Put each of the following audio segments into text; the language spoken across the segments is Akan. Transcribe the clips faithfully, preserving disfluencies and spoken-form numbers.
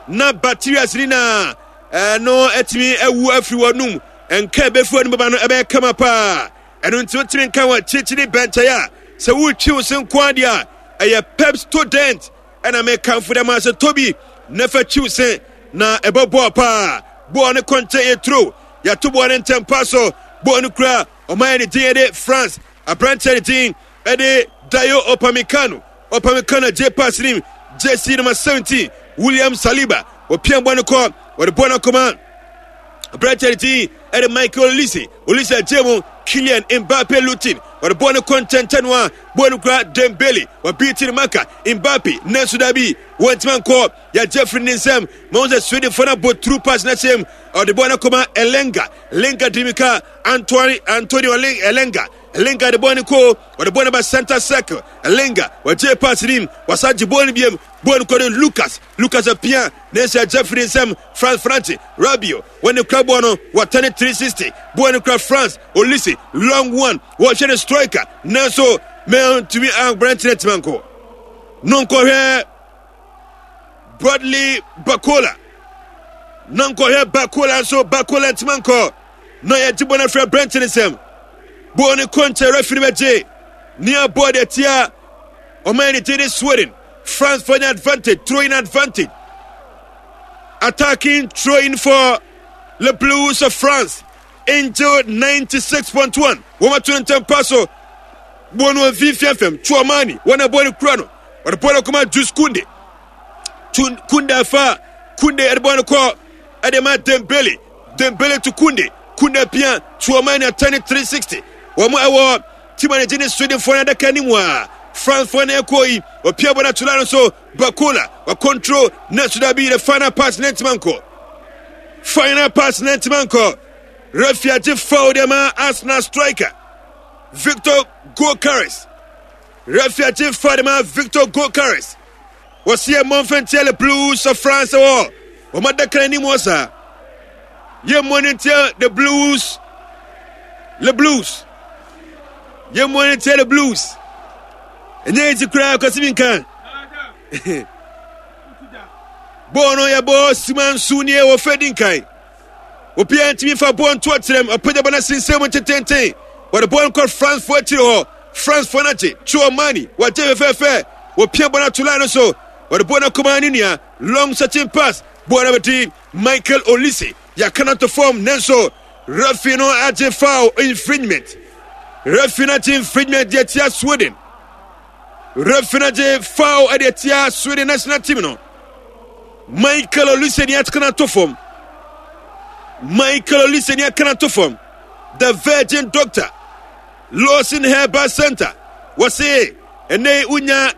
Na bacteria nyinaa ɛno atumi awu afiri wɔn nka ɛbɛfi wɔn bɛba no ɛbɛyɛ kama paa. Ɛno nti wotumi nka wɔ akyirikyiri bɛnkyɛn a sɛ wotwi wo se nko adeɛ a, ɛyɛ Pepsodent ɛna mekamfo dɛ ma sɛ tobi na fa twi wo se na ɛbɛboa paa. Bɔɔl ne kɔnkyɛn yɛ turo, yɛato bɔɔl ne ntɛm pa so. Bɔɔl no kura ɔman ne din ɛde France, aberanteɛ ne din ɛde Dayo Upamecano. Upamecano gye pass nim jersey number seventeen William Saliba, wɔpia bɔɔl no kɔ, wɔde bɔɔl no akɔma aberanteɛ ne din ɛde Michael Olise. Olise agye mu Kylian Mbappe Lutin, wɔde bɔɔl no kɔ nkyɛnkyɛn no a bɔɔl no kura Dembele, wɔbii ne maka Mbappe, nanso dabi, wɔntumi nkɔ, yɛagye afiri ne nsam. Ma wɔn sɛ Swedenfoɔ no abɔ through pass no ahyɛm, ɔde bɔɔl no akɔma Elenga. Elenga dimika Antoine Antonio Elenga. Elenga de bɔɔl no kɔ, wɔde bɔɔl no ba center circle. Elenga wɔgye pass nim, wɔsa gye bɔɔl no biem, bɔɔl no kɔ de Lucas. Lucas apia ne nsa, agye afiri ne nsam. France France Rabiot wɔne kura bɔɔl no, wɔtɛne three sixty, bɔɔl no kura France. Olise, long one, wɔhwɛ ne striker, nanso mɛntumi aberanteɛ ntoma nkɔ no nkɔhwɛ Bradley Barcola na nkɔhwɛ Barcola nso, Barcola ntoma nkɔ na yɛgye bɔ no afiri aberante ne nsɛm. Bɔɔl no kɔ nkyɛn, referee bɛgye nea bɔɔl deɛ tia ɔman ne din ne Sweden. France for an advantage, throwing advantage, attacking throwing for the Blues of France. Angel ninety-six point one, wɔn ato ntɛm pa so. Bɔɔl no mfimfini fam, Tchouamani wɔn a bɔɔl no kura no, wɔde bɔɔl no kɔma Jules Kounde. Kounde afa, Kounde ɛde bɔɔl no kɔ ɛde ma Dembele. Dembele to Kounde, Kounde pia Tchouamani, atɛne three sixty. Wɔn ɛwɔ team a ne gye ne Swedenfoɔ no adaka anim a Francefoɔ no ɛkɔ yi, ɔpia bɔ no ato no so. Barcola wa control na so dabi, the final pass ne ntoma nkɔ, final pass ne ntoma nkɔ. Referee agye foul de ma Arsenal striker Victor Gyokeres. Referee agye foul de ma Victor Gyokeres. Wɔsi yɛ mmɔmfɛntia Le Blues of France wɔ wɔn adaka anim hɔ saa. Yɛ mmɔ ne ntia the Blues, Le Blues, yɛ mmɔ ne ntia the Blues. Ɛnyɛ eti koraa kɔsi mi nka bɔɔl no yɛ bɔ sima nso nie wɔ fɛ di nkan. Obiara ntumi fa bɔɔl nto akyerɛm, apagya bɔ no asensɛn mu tententen, wɔde bɔɔl no kɔ France foɔ akyiri hɔ. France foɔ no agye. Tchouamani wɔagye fɛfɛɛfɛ, wɔpia bɔɔl no ato line no so, wɔde bɔɔl no akɔma ne nua, long searching pass, bɔɔl no abɛdi Michael Olise, yɛaka no ato fam, nanso referee no agye foul infringement. Referee no agye infringement deɛ tia Sweden. Referee no agye foul deɛ tia Sweden national team no. Michael Olise ni aka no ato fam. Michael Olise ni aka no ato fam. The Virgin Doctor, Lawson Herbal Center, wɔse ɛnɛ wonya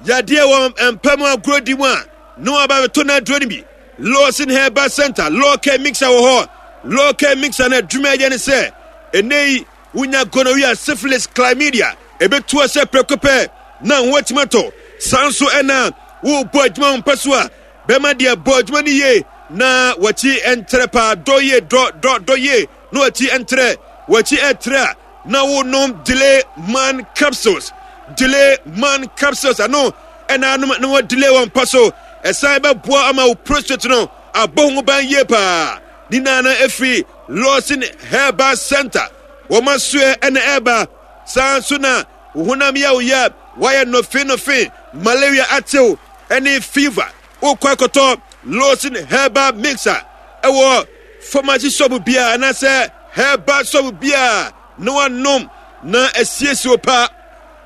yadeɛ wɔ mpa mu agorɔ di mu a na waba bɛtɔ no aduro no bi. Lawson Herbal Center, Lawcare Mixer wɔ hɔ. Lawcare Mixer no adwuma ɛyɛ ne sɛ ɛnɛ yi wonya gonorrhea, syphilis, chlamydia, ɛbɛtu sɛ prɛko pɛ na ho atumi atɔ. Saa nso ɛna wobɔ adwuma wo mpɛ so a bɛma deɛ bɔ adwuma no yie na wakyi ntrɛ paa, dɔ yie, dɔ dɔ dɔ yie na wakyi ntrɛ, wakyi ɛtrɛ a na wonom Delay Man capsules. Delay Man capsules ano ɛna anom na wɔ delay wɔn mpa so, ɛsan bɛboa ama wo prostate no abɔ ho ban yie paa. Ne nyinaa no ɛfiri Lawson Herbal Center wɔn asoɛ ɛna ɛba. Saa nso na wo honam yɛ wo yɛ, wayɛ nɔfe nɔfe, malaria atew ɛne fever, wokɔ akɔtɔ Lawson Herbal Mixer ɛwɔ pharmacy shop biara anaasɛ herbal shop biara na wanom na asiesie wo pa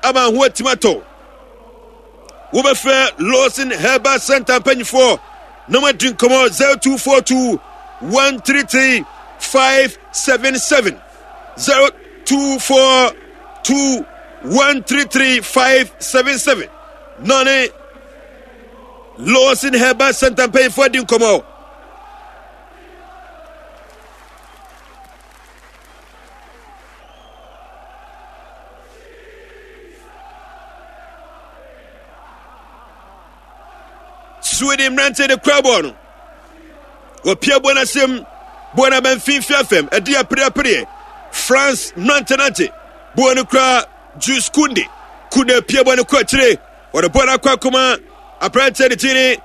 ama ho atumi atɔ. Wobɛfrɛ Lawson Herbal Center mpanyinfoɔ na wɔadi nkɔmmɔ zero two four two one three three five seven seven, zero two four two one three three five seven seven, na ne Lawson Herbal Center mpanyinfoɔ adi nkɔmmɔ. Sweden mmerante de kura bɔɔl no, wɔpia bɔɔl no asɛm, bɔɔl no aba mfimfini afɛm, ɛde apereapereɛ. France mmerante no agye bɔɔl no kura Jules Kounde. Kounde pia bɔɔl no kɔ akyire, wɔde bɔɔl no akɔ akɔma aberanteɛ de ti ne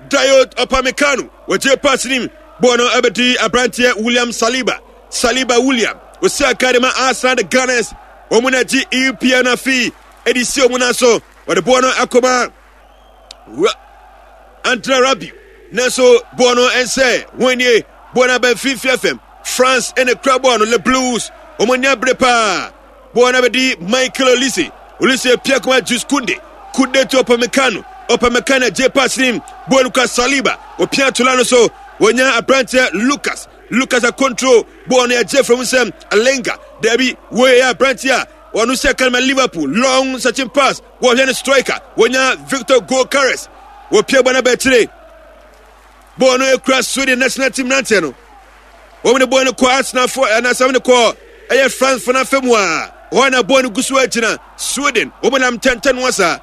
Dayot Upamecano wɔgye pass nim bɔɔl no ɛbɛdi aberanteɛ William Saliba. Saliba William osi aka de ma Arsenal, the Gunners. Wɔn na gye E P L no afei ɛde si wɔn nan so. Wɔde bɔɔl no akɔma Andre Rabiot, nanso bɔɔl no ɛnsɛ wɔn nie. Bɔɔl no aba mfimfini fam. France ɛna kura bɔɔl no. Le Blues wɔn ani abere paa. Bɔɔl no abɛdi Michael Olise. Olise pia kɔma Jules Kounde. Kounde to Upamecano. Upamecano gye pass nim. Bɔɔl no kura Saliba. Opia tola no so, wɔnya aberanteɛ Lucas. Lucas a control bɔɔl no, yɛgye from nsɛm Alenga. Dabi, wɔyɛ aberanteɛ a wɔno sɛ kan ma Liverpool. Long searching pass, wɔhwɛ no striker, wɔnya Victor Gyokeres. Wɔpia bɔ no abɛkyire. Bɔɔl no ekura Sweden national team nanteɛ no. Wɔn de bɔɔl no kɔ Arsenal fo ɛna de kɔ ɛyɛ France fo n'afɛ mu a hɔ na bɔɔl no gu so agyina Sweden. Wɔn nam ntɛntɛn no asa,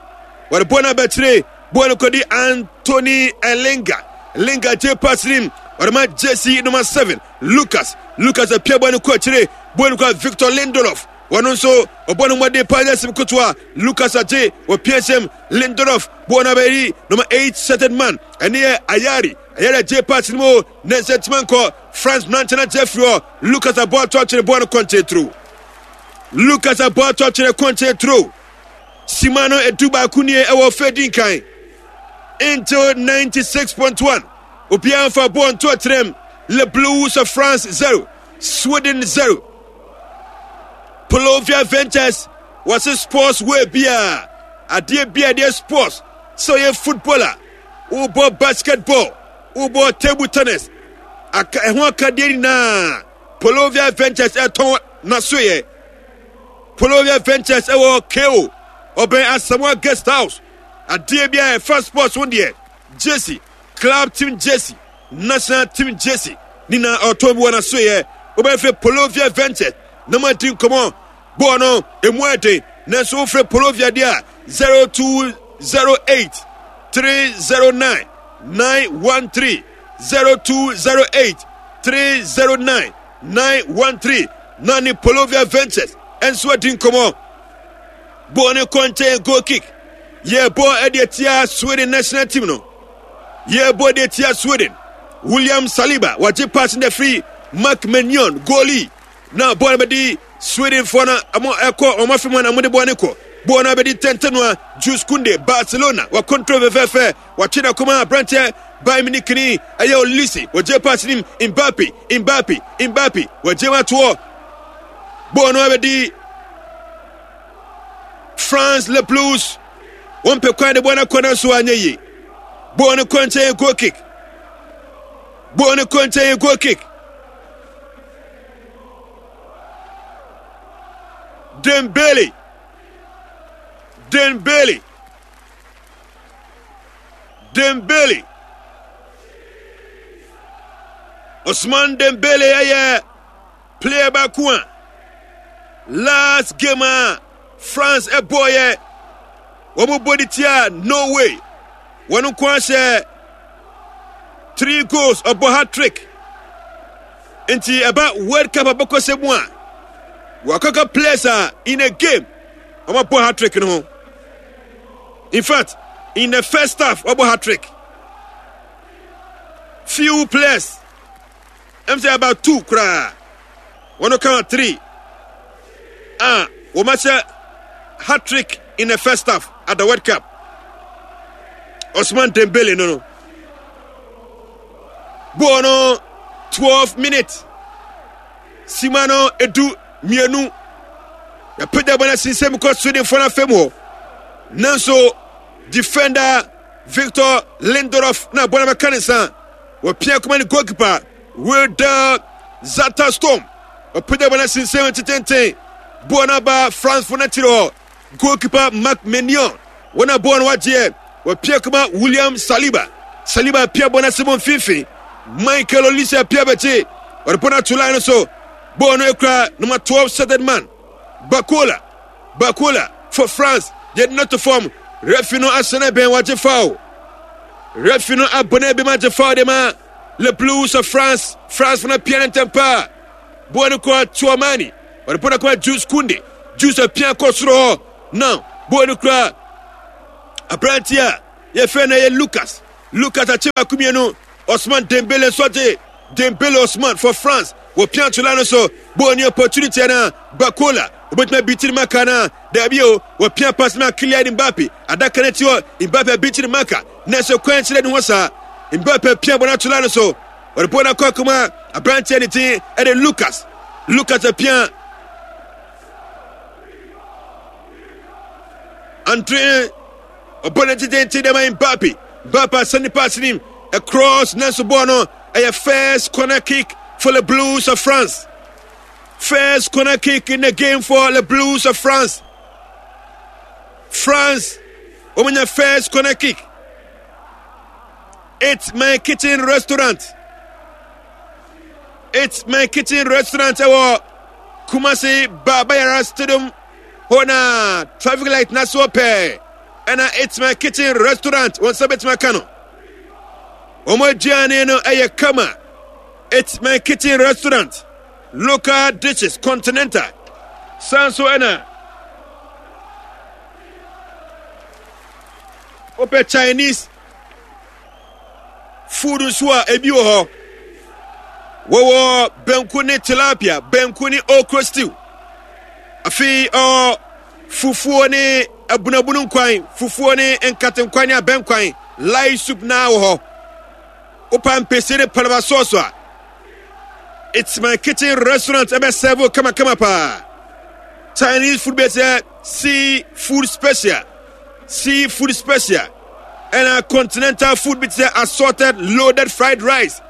wɔde bɔɔl no abɛkyire. Bɔɔl no kɔdi Anthony Elinga. Linga gye pass nim, wɔde ma jersey number seven Lucas. Lucas apia bɔɔl no kɔ akyire. Bɔɔl no kɔ Victor Lindelof. Wɔn nso ɔbɔ no mmɔden paa nyɛ sim kotoa. Lucas agye, wɔpia nsɛm Lindelof. Bɔɔl no abɛyi number eight settled man, ɛne yɛ Ayari. Ayari agye pass no mu ne nsɛ ntoma nkɔ. France mmeranteɛ no agye afiri hɔ. Lucas abɔ ato atwene, bɔɔl no kɔnkyɛn turo. Lucas abɔ ato atwene, kɔnkyɛn turo. Sima no edu baako nie ɛwɔ fɛ di nkan until ninety-six point one. Obiara nfa bɔɔl nto akyerɛm. Le Blues of France zero, Sweden zero. Polovia Ventures wɔse sports way bia, adeɛ bia deɛ sports, sɛ ɔyɛ footballer, wobɔ basketball, wobɔ table tennis, aka ɛho akadeɛ nyinaa, Polovia Ventures ɛtɔn n'asoyɛ. Polovia Ventures ɛwɔ ko ɔbɛn Asamoah Guest House. Adeɛ bi a ɛfa sports ho deɛ, jersey, club team jersey, national team jersey ne na ɔtɔn bi wɔ n'asoyɛ. Wobɛfrɛ Polovia Ventures na mo adi nkɔmɔ. Bɔɔl no emu ɛden, nanso wofrɛ Polovia deɛ a, zero two zero eight three zero nine nine one three, zero two zero eight three zero nine nine one three, na ne Polovia Ventures ɛnso adi nkɔmɔ. Bɔɔl no kɔ nkyɛn, goal kick. Yɛbɔ ɛde atia Sweden national team no. Yɛbɔ de atia Sweden. William Saliba wagye pass no firi Mark Maignan, goalie, na bɔɔl no bɛdi Sweden foɔ no ɔmo ɛkɔ ɔmo afei mu na ɔmo de bɔɔl no kɔ. Bɔɔl no abɛdi tɛntɛn a Jules Kounde, Barcelona, wa control fɛfɛɛfɛ. Watwe na kɔma aberanteɛ Bayern Munich ni ɛyɛ Olise. Wɔgye pass nim Mbappe. Mbappe, Mbappe wɔgye ma toɔ. Bɔɔl no abɛdi France. Le Blues wɔn pɛ kwan de bɔɔl no akɔ, nanso anyɛ yie. Bɔɔl no kɔ nkyɛn, goal kick. Bɔɔl no kɔ nkyɛn, goal kick. Dembele, Dembele, Dembele, Osman Dembele ɛyɛ player baako a last game a France ɛbɔɔyɛ, wɔn bɔ de tia Norway, wɔn nko ahyɛ three goals, ɔbɔ hat trick. Nti ɛba World Cup abɛkɔsɛ mu a, wakɔka players a in a game wɔn abɔ hat trick no ho. In fact, in the first half wɔbɔ hat trick. Few players, ɛm sɛ about two koraa, wɔn ka three a wɔn ahyɛ hat trick in the first half at the World Cup. Osman Dembele no no bɔɔl no twelve minutes, sima no edu mmienu. Yɛpagya bɔ no asensɛm kɔ Swedenfoɔ no afam hɔ, nanso defender Victor Lindelof na bɔ no bɛka ne nsa. Wɔpia kɔma ne goalkeeper Wilder Zatterstorm. Ɔpagya bɔ no asensɛm tetenten. Bɔɔl no aba France fo no akyiri hɔ. Goalkeeper Mark Maignan, wɔn a bɔɔl no wagyeɛ, wɔpia kɔma William Saliba. Saliba pia bɔ no ase bɔ mfimfini. Michael Olise pia bɛkye, ɔde bɔ no ato line no so. Bɔɔl no ekura number twelve shirted man Barcola. Barcola for France, yɛde no to fam. Referee no ahyɛ bɛn, wagye foul. Referee no abɔ no ebi ma gye foul de ma Le Blues of France. France fo no pia no ntɛm paa. Bɔɔl no kɔ Tchouameni, ɔde bɔ no kɔ Jules Kounde. Jules apia kɔ soro hɔ. Now bɔɔl no kura aberante a yɛfrɛ no ɛyɛ Lucas. Lucas akye baako mmienu. Osman Dembele nso agye. Dembele Osman for France. Wɔpia ntola no so. Bɔɔl ni opportunity na Bakola. Obetumi abitiri maka na daabi o. Wɔpia pass ma Kylian Mbappe. Adaka no akyi hɔ. Mbappe abitiri maka. Nanso kwan kyerɛ ne ho saa. Mbappe pia bɔ no atola no so. Wɔde bɔɔl no akɔ akoma aberanteɛ ne din ɛde Lucas. Lucas apia Andre ɔbɔ no tententen dɛ ma Mbappe. Mbappe asɛne pass nim across nanso bɔɔl no ɛyɛ first corner kick for the Blues of France. First corner kick in the game for the Blues of France. France wɔn first corner kick. It's my kitchen restaurant. It's my kitchen restaurant ɛwɔ Kumasi Baba Stadium hɔ na traffic light na so pɛɛ ɛna It's my kitchen restaurant wɔn nsa bɛtumi aka no. Wɔn aduane no ɛyɛ kama. It's my kitchen restaurant. Local dishes, continental. San so ɛna wopɛ Chinese food nso a ebi wɔ hɔ. Wɔwɔ banku ne tilapia, banku ne okro stew. Afei ɔ fufuo ne abunabunu nkwan, fufuo ne nkatenkwan ne abɛnkwan, light soup naa wɔ hɔ. Wopa mpese ne palaba sauce a, It's my kitchen restaurant ɛbɛ serve kamakama paa. Chinese food bɛ sɛ sea food special, sea food special. Ɛna continental food bi te sɛ assorted loaded fried rice.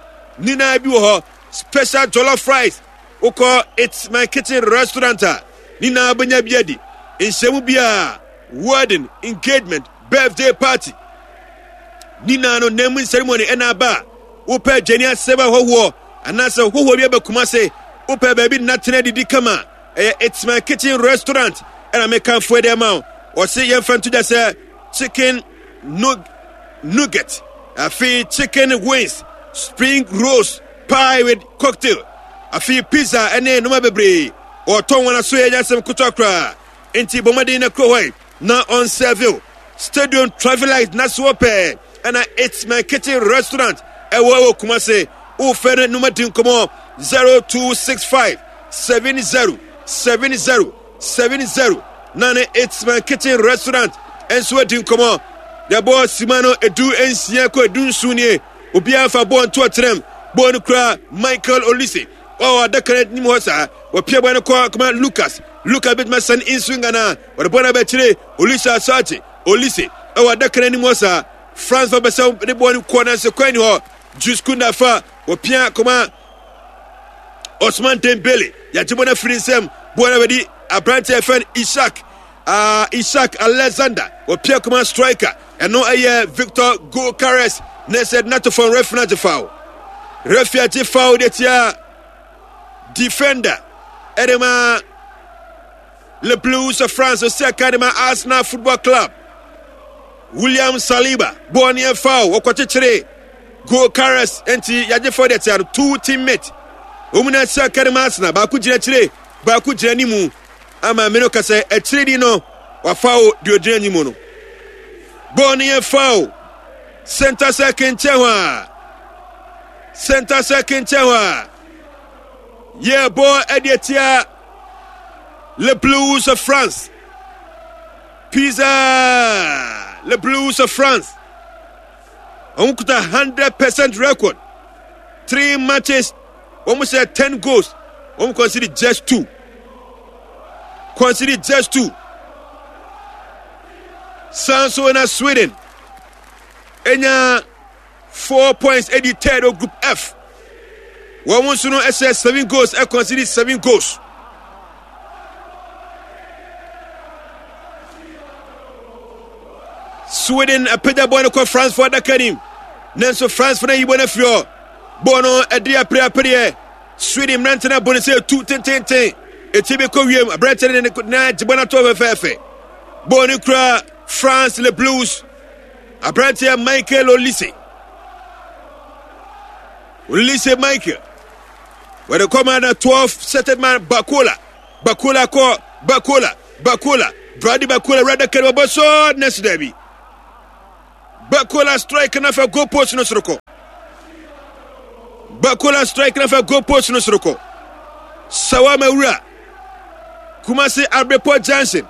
Nyinaa bi wɔ hɔ. Special jollof rice. Wokɔ It's my kitchen restaurant a, nyinaa bɛnya bi adi. Nhyɛmu biara, wedding, engagement, birthday party. Nyinaa no naming ceremony ɛna aba a, wopɛ aduane asɛm ahɔhoɔ anaasɛ hɔhoɔ bi aba Kumase, wopɛ baabi nnatena didi kama, ɛyɛ It's my kitchen restaurant ɛna mekamfo ɛde ama wo. Ɔse yɛmfa nto dwa sɛ chicken nug nugget, afei chicken wings, spring rolls, pie with cocktail, afei pizza ɛne nneɛma bebree. Ɔtɔn wɔn aso yɛ nyasɛm ketewa koraa. Nti bɔ mmɔden na kuro hɔ yi na ɔnsɛve Stadium traffic light na so pɛɛ ɛna It's my kitchen restaurant ɛwɔ ɛwɔ Kumase. Wofɛ no numa di nkɔmɔ zero two six five seven zero seven zero seven zero na ne It's my kitchen restaurant ɛnso adi nkɔmɔ. Yɛbɔ sima no edu nsia kɔ edu nson nie. Obiara fa bɔɔl nto ɔkyerɛm. Bɔɔl no kura Michael Olise. Ɔwɔ adaka no anim hɔ saa. Wɔpia bɔɔl no kɔ kɔma Lucas. Lucas bɛtumi asan nso ngana. Wɔde bɔɔl no abɛkyerɛ Olise Asante. Olise ɛwɔ adaka no anim hɔ saa. France fa bɛsɛ de bɔɔl no kɔ nanso kwan ni hɔ. Jules Koundé fa wɔpia kɔma Osman Dembele. Yɛagye bɔɔl no afiri nsam. Bɔɔl no abɛdi aberanteɛ a yɛfrɛ no Isak. Uh, Isak Alexander wɔpia kɔma striker. Ɛno ɛyɛ Victor Gyökeres. Na sɛ nato fam referee no agye foul. Referee agye foul de tia defender ɛde ma Le Blues of France osi aka de ma Arsenal Football Club. William Saliba bɔɔl no yɛ foul wɔkɔkyekyere Gyökeres nti yɛagye foul de tia no two teammate. Wɔn nyinaa si aka de ma Arsenal baako gyina akyire baako gyina anim ama mmeno kasa akyire di no wafa o deɛ ogyina anim no. Bɔɔl no yɛ foul. Center circle nkyɛn hɔ a. Center circle nkyɛn hɔ a. Yɛ bɔɔl ɛde atia Le Blues of France. Pizza Le Blues of France. Wɔn kuta hundred percent record. Three matches. Wɔn hyɛ ten goals. Wɔn concede just two. Concede just two. San so na Sweden. Enya four points edi third wɔ group F. Wɔn nso no ɛhyɛ seven goals ɛconcede seven goals. Sweden apagya bɔɔl no kɔ France fo adaka nim. Nanso France fo no ayi bɔɔl no afiri hɔ. Bɔɔl no ɛde apereapereɛ. Sweden mmerante no abɔ no sɛ etu tententen. Eti bi kɔ wiem. Aberante no de ne nan agye bɔɔl no ato fɛfɛɛfɛ. Bɔɔl no kura France Le Blues. Aberanteɛ Michael Olise. Olise Michael. Wɔde kɔma na twelve settled man Bakola. Bakola kɔ Bakola. Bakola. Brady Bakola wura daka no wɔbɔ so nɛsi daabi. Bakola strike na fa goal post no soro kɔ. Bakola strike na fa goal post no soro kɔ. Sawama wura. Kumasi Abrepɔ Junction.